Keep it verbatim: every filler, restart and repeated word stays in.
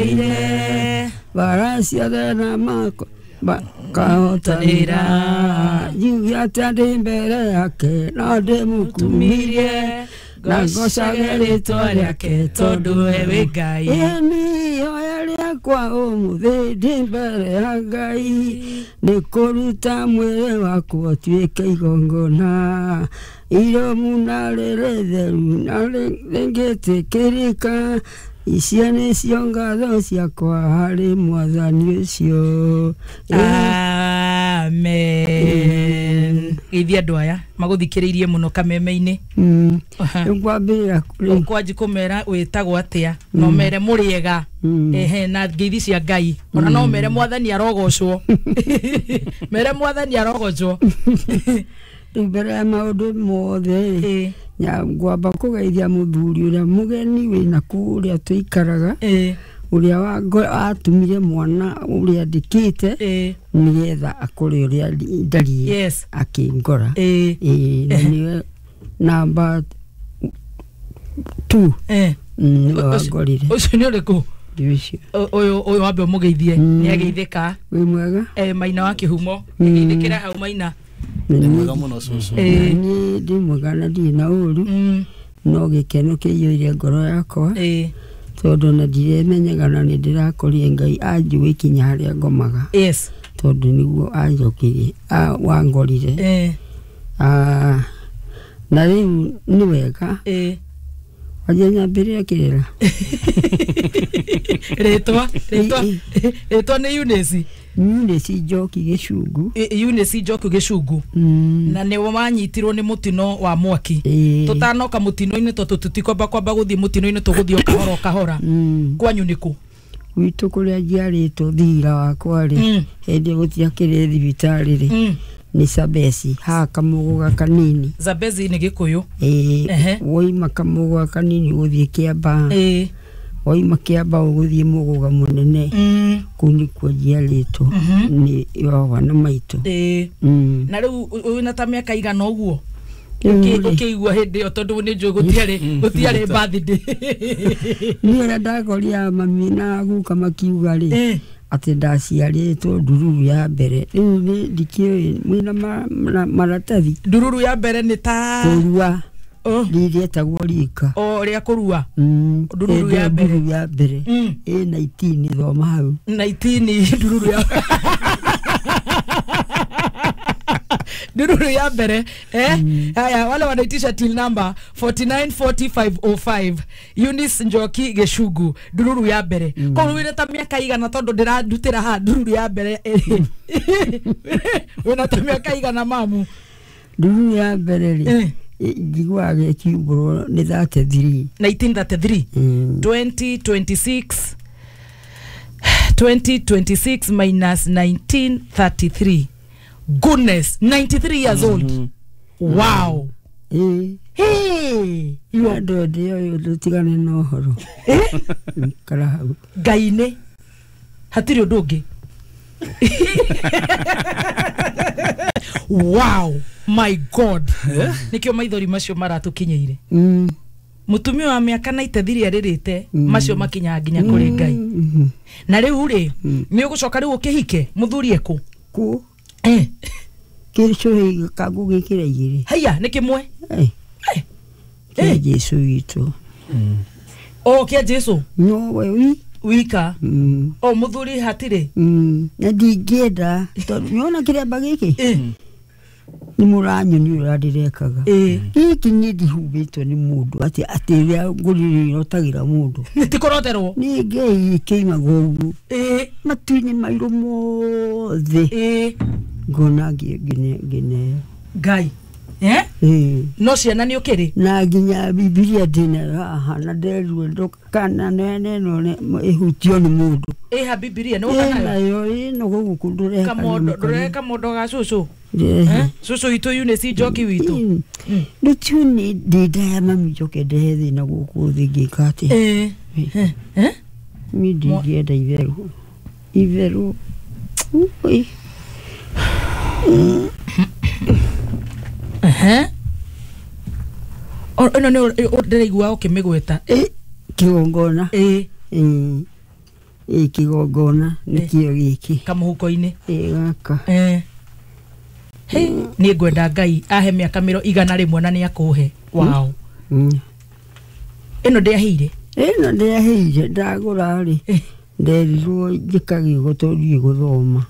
Ire Bara ciothe na mako kahotanĩra njuge atĩa ndĩ mbere yake no ndĩmũkumirie na ngocage rĩtwa rĩake tondũ we wĩ Ngai. Ĩni ihoya rĩakwa ũmũthĩ ndĩ mbere ya Ngai nĩ kũruta mwĩrĩ wakwa ũtuĩke igongona irũmu na rĩrĩ theru na rĩngĩtĩkĩrĩka. Icio nĩcio ngatho ciakwa harĩ mwathani ũcio. Amen. Geithia andũ aya magũthikĩrĩirie mũno kameme-inĩ. Mm. Aha. Ngwambĩrĩra rĩu. Ũkwanji kũmera wĩtagwo atĩa no mere mũrĩega Mm. ehe na ngeithi cia Ngai ona no mere mwathani arogocwo mere mwathani arogocwo. Rĩu mbere ya maũndũ mothe rĩ, Ĩĩ, nya ngwamba kũgeithia mũthuri ũrĩa mũgeni wĩna kũrĩa tũikaraga ĩĩ, ũrĩa wango- atumire mwana ũrĩa ndĩkĩte ĩĩ, nĩgetha akũre ũrĩa ndariĩ yes, akĩngora. ĩĩ, Ĩĩ, na nĩwe namba two. eh. Mm, nĩwe Ũcio- wangorire. Ũcio nĩ ũrĩkũ? Nĩ ũcio. Ũ- ũyũ ũyũ wambe ũmũgeithie Mm. nĩ ageithĩka. Wĩ mwega? Eh, Maina wa Kĩhumo Mm. geithĩkĩra hau Maina. Na Nĩ niĩ- mwega mũno cũcũ. Ĩĩ. na niĩ ndĩ mwega na ndirĩ na ũru Mm, no gĩkeno kĩiyũire ngoro yakwa ĩĩ, tondũ na ndiremenyaga na nĩ ndĩrakorire Ngai anjũĩ kinya harĩa ngomaga yes, tondũ nĩguo anjokirie a- wangorire. ĩĩ, Ah, na rĩu nĩ wega ĩĩ. wanjia nyambĩrĩre kĩrĩra. Rĩtwa rĩtwa rĩtwa nĩ Eunice. Eunice Njoki Gĩcungu. E- Eunice Njoki Gĩcungu Mm. na nĩ wanyitirwo nĩ mũtino wa mwaki. Ĩĩ. Tũtanoka mũtino-inĩ tondũ tũtikwamba kwamba gũthiĩ mũtino-inĩ tũgũthiĩ o kahora o kahora. Mm. Kwanyu nĩ kũ? Gwitũ kũrĩa njiarĩtwo thira wakwa rĩ Mm. hĩndĩ ĩyo gũtiakĩrĩ thibitarĩ rĩ Mm. nĩ Zambezi haha kamũgũga kanini. Zambezi nĩ Gĩkũyũ. Ĩĩ, Ehe. woima kamũgũga kanini ũgũthiĩ Kĩambaa Ĩĩ. waima Kĩambaa ũgũthiĩ mũgũga mũnene Mm. kũu nĩkuo njiarĩtwo Mhm. nĩ baba na maitũ. Ĩĩ. Mm. Na rĩu wĩna ta mĩaka igana ũguo Rĩu Ũkĩ- rĩ, ũkĩigua hĩndĩ ĩyo tondũ nĩ njũĩ gũtiarĩ gũtiarĩ birthday. Niĩ ũrĩa ndakoria mami na guka makiuga rĩ Ĩĩ. atĩ ndaciarĩtwo ndururu ya mbere rĩu nĩ ndikĩũĩ mwĩna ma- ma- maratathi Ndururu ya mbere nĩ ta kũrua Oh. rĩrĩetagwo rika. O rĩa kũrua. Mm. Ndururu Hĩndĩ ya ĩyo mbere. ndururu ya mbere Mm. ĩ nineteen thoma hau nineteen ndururu ya ndururu ya mbere eh. Haya, wale wanaitisha till number forty-nine forty-five oh five Eunice Njoki Gĩcungu ndururu ya mbere. Koguo wĩna ta mĩaka igana tondũ ndĩrandutĩra haha ndururu ya mbere wĩna ta mĩaka igana mamu? Ndururu ya mbere rĩ Eh. njiguaga ĩkiumbũrwo nĩ thirty-three. nineteen thirty-three. Mm. twenty twenty-six twenty twenty-six minus nineteen thirty-three. Goodness, ninety-three years old. Wow. Ĩĩ. Hey, you are Andũ ndĩ ũyũ ndũtigane na ũhoro kara hau Ngai-inĩ hatirĩ ũndũ ũngĩ. Wow, my God. Nĩkĩo maithori macio maratũkinyĩire. Mm. Mũtumia wa mĩaka ninety-three arĩrĩte macio makinyaga nginya kũrĩ Ngai. Mm. Na rĩu rĩ nĩ ũgũcoka rĩu ũkĩhike mũthuri ekũ? Kũ Eh. kĩcũhĩ kangũgĩkĩra igĩrĩ. Haiya nĩ kĩmwe. Eh, Eh. kĩa Jesũ witũ. O kĩa Jesũ No we wi. wika. Mm. O mũthuri hatirĩ. Mm. Na ndingĩenda tondũ nĩwona kĩremba gĩkĩ Eh. nĩ mũranyoni ũrĩa ndĩrekaga. Eh. Gĩkĩ niĩ ndihumbĩtwo nĩ mũndũ atĩ atĩ ũrĩa ngũrĩrĩ irotagĩra mũndũ. Nĩ ti kũroterwo. Nĩ Ngai ĩkĩimagwo ũguo Eh. matu-inĩ mairũ mothe Eh. ngona ngĩ- ngĩne- ngĩneo. Ngai. Eh? Ĩĩ. No ciana nĩ ũkĩrĩ? Na nginya Bibilia ndĩnayo haha na nderirwo ndũkananene ĩno ĩhutio nĩ mũndũ. Ĩha Bibilia nĩ woka nayo? Ĩnayo ĩno gũkũ ndũrehe Kamondo kanyamũ ndũrehe kanini. kamondo ga cũcũ. Ndehe. Eh? Cũcũ witũ Eunice Njoki witũ. Mm. Ndũtiũ nĩ ndĩ nda ya mami njoke ndehe thĩna gũkũ thĩ ngĩka atĩa. Eh. Eh. Eh? Niĩ ndingĩenda itherũ itherũ. Ui. Ehe. O ĩno nĩ ndĩraigua ũkĩmĩgweta. Ĩ, kĩgongona. Ĩĩ. Ĩĩ. Ĩ kĩgongona nĩkĩo gĩkĩ. Kamũhuko-inĩ. Ĩ gaka. Eh. Hey, niĩ ngwenda Ngai ahe mĩaka mĩro igana rĩmwe na nĩ akũhe wao. Mm. Ĩno ndĩaheire. Ĩno ndĩaheire ndagũra rĩ, Eh. nderirwo njĩkage ũguo tondũ ndiũĩ gũthoma.